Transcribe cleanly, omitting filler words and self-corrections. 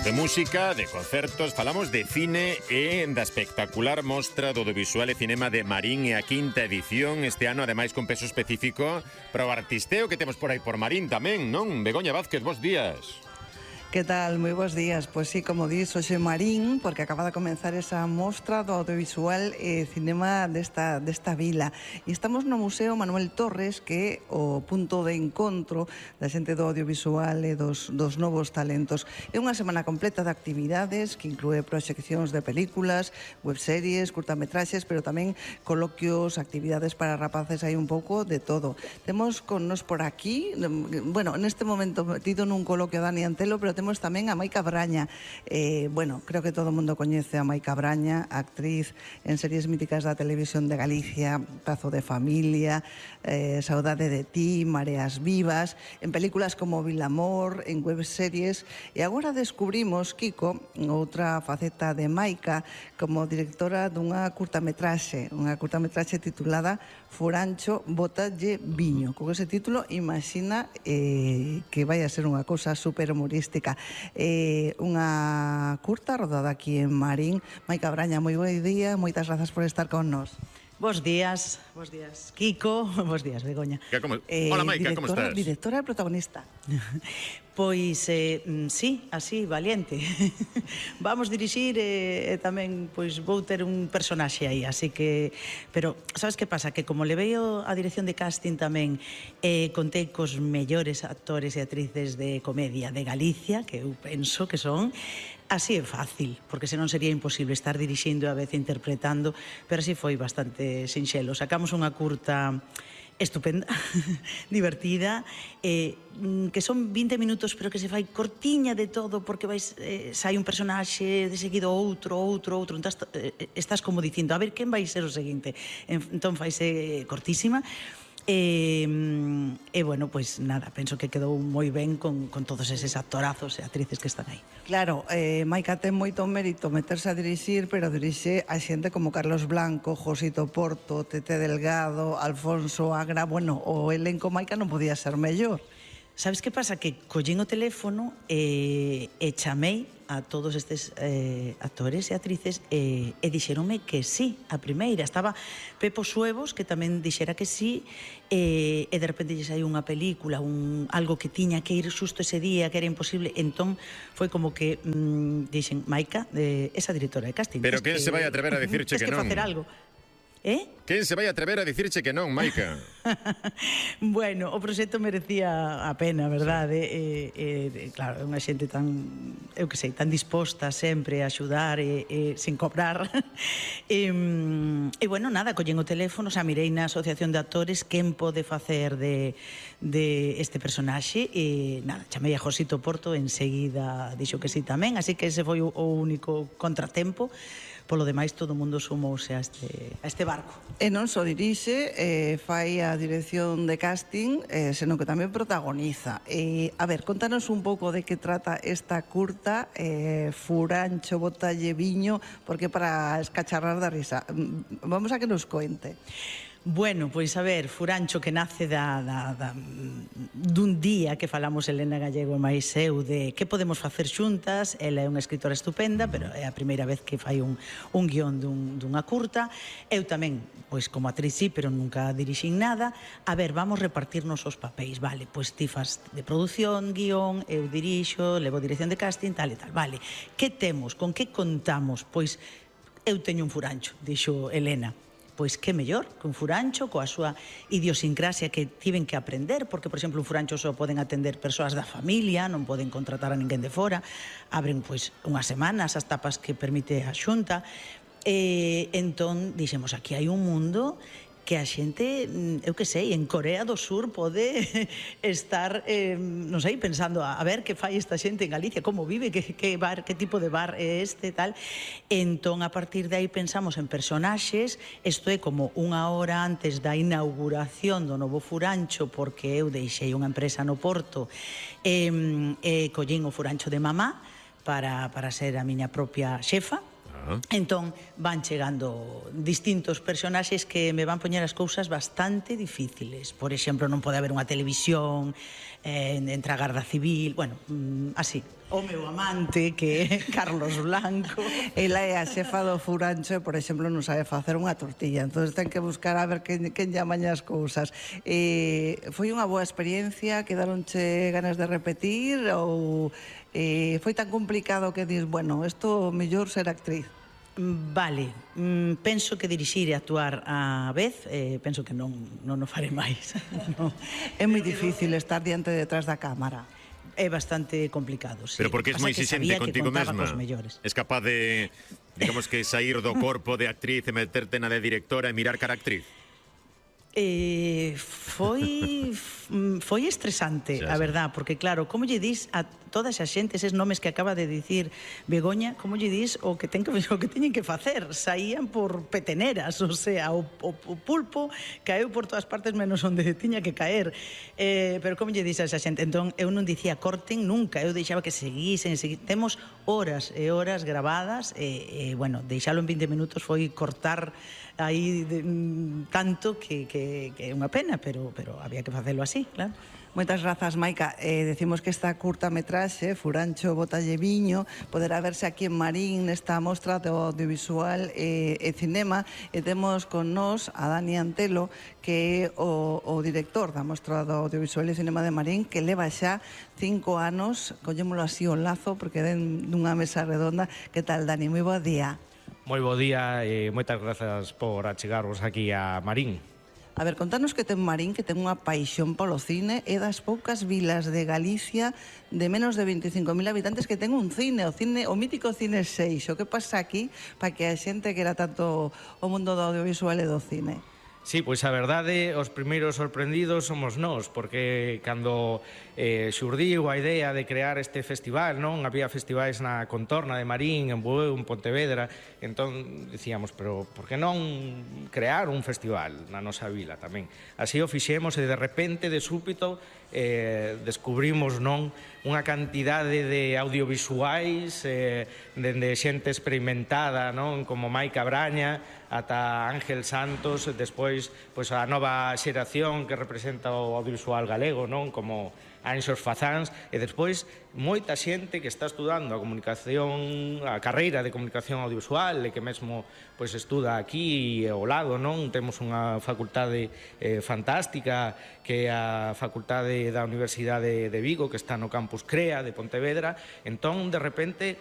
De música, de concertos, falamos de cine e da espectacular mostra do audiovisual e cinema de Marín e a quinta edición este ano, ademais con peso específico para o artisteo que temos por aí por Marín tamén, non? Begoña Vázquez, bos días. Que tal? Moi bons días. Pois sí, como dis, hoxe Marín, porque acaba de comenzar esa mostra do audiovisual e cinema desta vila. E estamos no Museo Manuel Torres, que é o punto de encontro da xente do audiovisual e dos novos talentos. É unha semana completa de actividades que inclúe proxeccións de películas, webseries, curtametraxes, pero tamén coloquios, actividades para rapaces, hai un pouco de todo. Temos con nos por aquí, bueno, neste momento metido nun coloquio Dani Antelo, pero temos tamén a Maica Braña. Bueno, creo que todo o mundo coñece a Maica Braña, actriz en series míticas da televisión de Galicia, Pazo de Familia, Saudade de ti, Mareas Vivas, en películas como Vilamor, en webseries, e agora descubrimos, Kiko, outra faceta de Maica como directora dunha curtametraxe titulada Furancho, Bótalle Viño. Con ese título, imagina que vai a ser unha cousa super humorística. Unha curta rodada aquí en Marín. Maica Braña, moi bo día, moitas grazas por estar con nós. Bos días, Kiko, bos días, Begoña. Hola, Maica, como estás? Directora e protagonista. Pois, sí, así, valiente. Vamos dirixir e tamén, pois, vou ter un personaxe aí, así que... Pero, sabes que pasa? Que como levei a dirección de casting tamén, contei cos mellores actores e actrices de comedia de Galicia, que eu penso que son... Así é fácil, porque senón sería imposible estar dirixindo e a vez interpretando, pero así foi bastante sinxelo. Sacamos unha curta estupenda, divertida, que son 20 minutos, pero que se fai cortiña de todo, porque sai un personaxe, de seguido outro, entón estás como dicindo, a ver, quen vai ser o seguinte? Entón faise cortísima, e bueno, pois nada, penso que quedou moi ben con todos eses actorazos e actrices que están aí. Claro, Maica ten moito mérito meterse a dirixir, pero dirixe a xente como Carlos Blanco, Josito Porto, Tete Delgado, Alfonso Agra. Bueno, o elenco Maica non podía ser mellor. Sabes que pasa? Que collín o teléfono e chamei a todos estes actores e actrices e dixeronme que sí, a primeira. Estaba Pepo Suevos, que tamén dixera que sí, e de repente lle saiu unha película, algo que tiña que ir xusto ese día, que era imposible. Entón, foi como que dixen, Maica, esa directora de casting. Pero quen se vai atrever a dicirche que non? Tens que facer algo. Quen se vai atrever a dicirche que non, Maica? Bueno, o proxecto merecía a pena, verdade? Claro, é unha xente tan, eu que sei, tan disposta sempre a axudar e sin cobrar. E bueno, nada, collén o teléfono, xa mirei na Asociación de Actores quen pode facer de este personaxe e nada, chamei a Josito Porto, enseguida dixo que sí tamén, así que ese foi o único contratempo. Polo demais, todo o mundo sumouse a este barco. E non só dirixe, fai a dirección de casting, senón que tamén protagoniza. A ver, contanos un pouco de que trata esta curta, Furancho, Bótalle Viño, porque para escacharrar da risa. Vamos a que nos coente. Bueno, pois a ver, Furancho, que nace dun día que falamos Elena Gallego e máis eu de que podemos facer xuntas. Ela é unha escritora estupenda, pero é a primeira vez que fai un guión dunha curta. Eu tamén, pois como actriz sí, pero nunca dirixín nada. A ver, vamos repartirnos os papéis, vale, pois ti fas de produción, guión, eu dirixo, levo dirección de casting, tal e tal, vale. Que temos? Con que contamos? Pois eu teño un furancho, dixo Elena. Pois que mellor que un furancho coa súa idiosincrasia que tiven que aprender, porque, por exemplo, un furancho só poden atender persoas da familia, non poden contratar a ninguén de fora, abren, pois, unhas semanas as tapas que permite a Xunta, e entón, dixemos, aquí hai un mundo que a xente, eu que sei, en Corea do Sur pode estar, non sei, pensando a ver que fai esta xente en Galicia, como vive, que tipo de bar é este, tal. Entón, a partir de aí pensamos en personaxes. Isto é como unha hora antes da inauguración do novo furancho, porque eu deixei unha empresa no Porto e collín o furancho de mamá para ser a miña propia xefa. Entón van chegando distintos personaxes que me van poñer as cousas bastante difíciles. Por exemplo, non pode haber unha televisión entre a Garda Civil, bueno, así. O meu amante, que é Carlos Blanco. Ela é a xefa do Furancho e, por exemplo, non sabe facer unha tortilla. Entón ten que buscar a ver quen lle amaña as cousas. Foi unha boa experiencia? Quedaronche ganas de repetir? Ou foi tan complicado que dis, bueno, isto mellor ser actriz? Vale, penso que dirixir e actuar á vez, penso que non o faré máis. É moi difícil estar diante detrás da cámara. É bastante complicado, sí. Pero porque es moi exigente contigo mesma. Es capaz de, digamos que, sair do corpo de actriz e meterte na de directora e mirar cara a actriz? Foi estresante, a verdad, porque claro, como lle dis a toda esa xente eses nomes que acaba de dicir Begoña, como lle dis o que teñen que facer? Saían por peteneras, o sea, o pulpo caeu por todas partes menos onde tiña que caer. Pero como lle dis a esa xente? Entón, eu non dicía corten nunca, eu deixaba que seguisen. Temos horas e horas gravadas e bueno, deixalo en 20 minutos foi cortar aí tanto que é unha pena, pero había que facelo así, claro. Moitas grazas, Maica. Decimos que esta curtametraxe, Furancho Botalle Viño, poderá verse aquí en Marín nesta mostra de audiovisual e cinema, e temos con nós a Dani Antelo, que é o director da mostra do audiovisual e cinema de Marín, que leva xa 5 anos, collémolo así o lazo, porque den dunha mesa redonda. Que tal, Dani? Moi bo día. Moi bo día e moitas grazas por achegarvos aquí a Marín. A ver, contanos que ten Marín, que ten unha paixón polo cine, é das poucas vilas de Galicia de menos de 25.000 habitantes que ten un cine, o mítico Cine 6. O que pasa aquí para que a xente quera tanto o mundo do audiovisual e do cine? Sí, pois a verdade, os primeiros sorprendidos somos nós, porque cando xurdiu a idea de crear este festival, non? Había festivais na contorna de Marín, en Bueu, en Pontevedra, entón dicíamos, pero por que non crear un festival na nosa vila tamén? Así o fixemos e de repente, de súbito, descubrimos non unha cantidade de audiovisuais dende xente experimentada, non? Como Maica Braña ata Ángel Santos, despois pois a nova xeración que representa o audiovisual galego, non? Como Anxos Fazáns, e despois moita xente que está estudando a comunicación, a carreira de comunicación audiovisual e que mesmo pois estuda aquí ao lado, non? Temos unha facultade fantástica que é a Facultade da Universidade de Vigo, que está no campus CREA de Pontevedra. Entón, de repente,